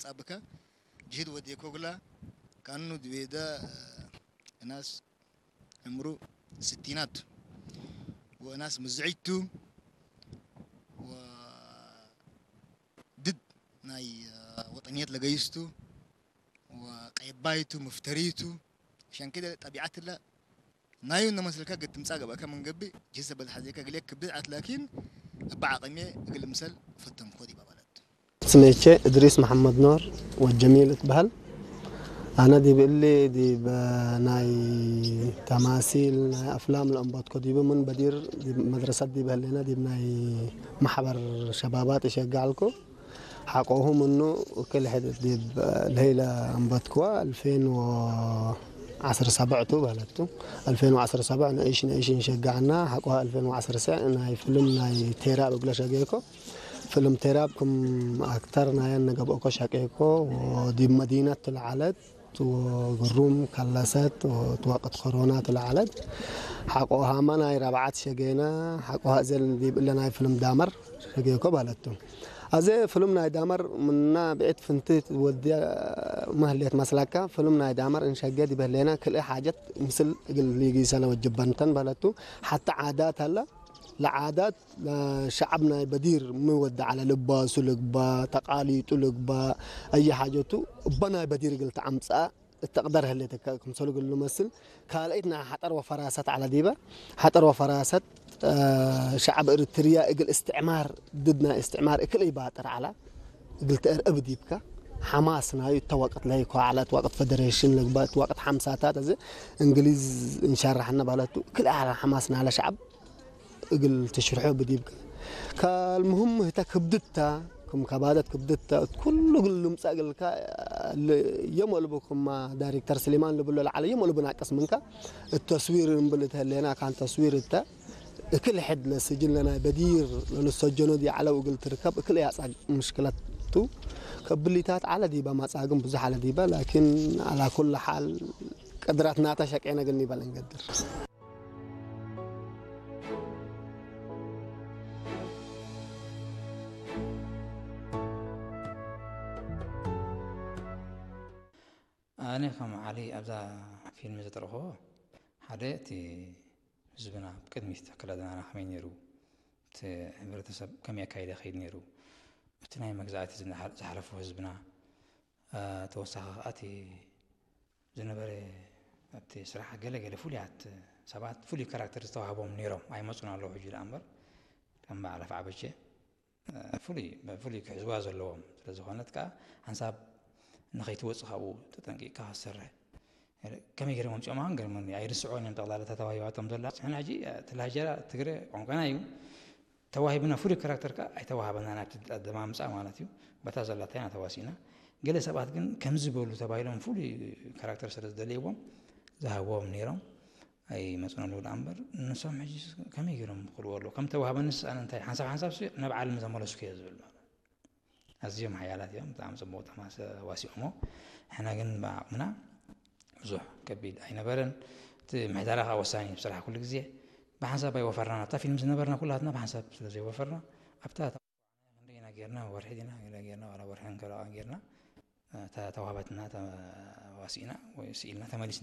ጣብካ ጅህድ ወዴ ኮግላ ካኑ ድቤዳ እናስ ዕምሩ ስቲናቱ ወእናስ ምዝዒቱ ወድድ ናይ ወጠንየት ለገይስቱ ወቀየባይቱ መፍተሪቱ ሸንኪደ ጠቢዓትላ ናዩ እነመስልካ ግትምጻ ገባእካ መንገቢ ጅሰ በልሓዜካ ግሌ ክብድ ዓት ላኪን እባ ዓቐሜ እግል ምሰል ፈተምኮ ዲባ ማለት ስሜቼ እድሪስ መሓመድ ኖር ወጀሚል እትበሃል። ኣነ ዲብ እሊ ዲብ ናይ ተማሲል ናይ ኣፍላም ለእንበትኮ ዲብ ምን በዲር ዲብ መድረሰት ዲብ ህሌና ዲብ ናይ ማሕበር ሸባባት እሸጋዕልኩ። ሓቆሁ ምኑ ክል ሕድ ዲብ ለይለ እንበትክዋ ኣልፌን ወዓስር ሰብዕቱ ባለቱ። ኣልፌን ወዓስር ሰብዕ ንእሽ ንእሽ እንሸጋዕና ሓቆ ኣልፌን ወዓስር ስዕ ናይ ፍልም ናይ ቴራ ብግለ ሸገይኮ። ፍልም ቴራብ ክም ኣክተር ናየን ነገብኦኮ ሸቄኮ። ወዲብ መዲነት ትለዓለት ወግሩም ከለሰት ወትወቅት ኮሮና ትለዓለት። ሓቆ ሃማ ናይ ረብዓት ሸጌና ሓቆ ሃእዘል ዲብ እለ ናይ ፍልም ዳመር ሸጌኮ ባለቱ። ኣዘ ፍልም ናይ ዳመር ምና ብዕት ፍንትት ወዲያ መህሌት መስላካ ፍልም ናይ ዳመር እንሸገ ዲበህሌና ክልእ ሓጀት ምስል እግል ሊጊሰለ ወጅበንተን ባለቱ። ሓታ ዓዳት ኣላ ለዓዳት ሸዓብ ናይ በዲር ሚ ወዲ ዓለ ልባሱ ልግባ ተቃሊጡ ልግባ ኣየ ሓጀቱ እባ ናይ በዲር እግል ተዓምፅኣ እተቅደር ህሌተካ ክምሰሉ እግል ልመስል ካልአይት ናይ ሓጠር ወፈራሰት ዓለ ዲበ ሓጠር ወፈራሰት ሸዓብ እርትርያ እግል እስትዕማር ድድ ናይ እስትዕማር እክል ይባጥር ዓላ እግል ተእርዕብ ዲብካ ሓማስ ናዩ እተ ወቅት ለይኮ ዓላ እት ወቅት ፈደሬሽን ልግባ እት ወቅት ሓምሳታት እዚ እንግሊዝ እንሸራሕና ባለቱ እክል ዓላ ሓማስ ናለ ሸዓብ እግል ትሽርሖ ብዲብካ ካልምህም ህተ ክብድታ ክም ከባደት ክብድታ እት ኩሉ እግል ልምጻ እግልካ የመልቡ ክማ ዳይሬክተር ስሊማን ልብሎ ለዓለ የመልቡ ናቅስ ምንካ እት ተስዊር እንብል እት ህሌና ካን ተስዊር እተ እክል ሕድ ለስጅን ለናይ በዲር ለልሰጀኖ ዲ ዓለው እግል ትርከብ እክል ያጻ ምሽክለቱ ከብሊታት ዓለ ዲባ ማጻግም ብዙሕ ዓለ ዲባ ላኪን አላ ኩል ሓል ቅድራት ናታ ሸቄነ ግን ይበል እንገድር። ኣነ ከም ዓሊ ኣብዛ ፊልም ዝተረኽቦ ሓደ እቲ ህዝብና ቅድሚት ኣከዳድናና ከመይ ነይሩ፣ እቲ ሕብረተሰብ ከመይ ኣካይደ ከይድ ነይሩ፣ እቲ ናይ መግዛእቲ ዝሓለፉ ህዝብና፣ ተወሳኺ ከዓ እቲ ዝነበረ ኣብቲ ስራሕ ገለ ገለ ፍሉያት ሰባት ፍሉይ ካራክተር ዝተዋህቦም ነይሮም ኣይመፁን ኣለዉ ሕጂ ደኣ እምበር ከም በዓል ኣፍዓበቼ ፍሉይ ብፍሉይ ክሕዝዋ ዘለዎም ስለ ዝኾነት ከዓ ሓንሳብ ንኸይትወፅእ ካብኡ ተጠንቂቕካ ክትሰርሕ ከመይ ገይሮም ኣምፅኦም ኣን ገርመኒ ኣይርስዖን እዮም ጠቕላላ ተተዋሂባቶም ዘላ ሕና ሕጂ እቲ ላጀራ ትግረ ቋንቋና እዩ ተዋሂብና ፍሉይ ካራክተር ከዓ ኣይተዋሃበና ናብቲ ኣደማምፃ ማለት እዩ በታ ዘላታ ኢና ተዋሲእና ገለ ሰባት ግን ከምዚ በሉ ተባሂሎም ፍሉይ ካራክተር ስለ ዝደልይዎም ዝሃብዎም ነይሮም ኣይመፁን ኣለዉ ደኣ እምበር ንሶም ሕጂ ከመይ ገይሮም ክኽልዎ ኣለዉ ከም ተዋህበንስ ኣነ እንታይ ሓንሳብ ሓንሳብ ናብ ዓለም ዘመለስኩ እየ ዝብል ማለት ኣዝዮም ሓያላት እዮም ብጣዕሚ ፅቡቅ ተዋሲኦሞ ሕና ግን ብዓቕምና ብዙሕ ከቢድ ኣይነበረን እቲ ምሕዳራ ከዓ ወሳኒ እዩ ስራሕ ኩሉ ግዜ ብሓንሳብ ኣይወፈርና ናብታ ፊልም ዝነበርና ኩላትና ብሓንሳብ ስለ ዘይወፈርና ኣብታ ክንደይና ጌርና ወርሒ ዲና ገለ ጌርና ዋላ ወርሒ ንከለዋ ጌርና እታ ተዋህበትና ተዋሲእና ወይ ስኢልና ተመሊስና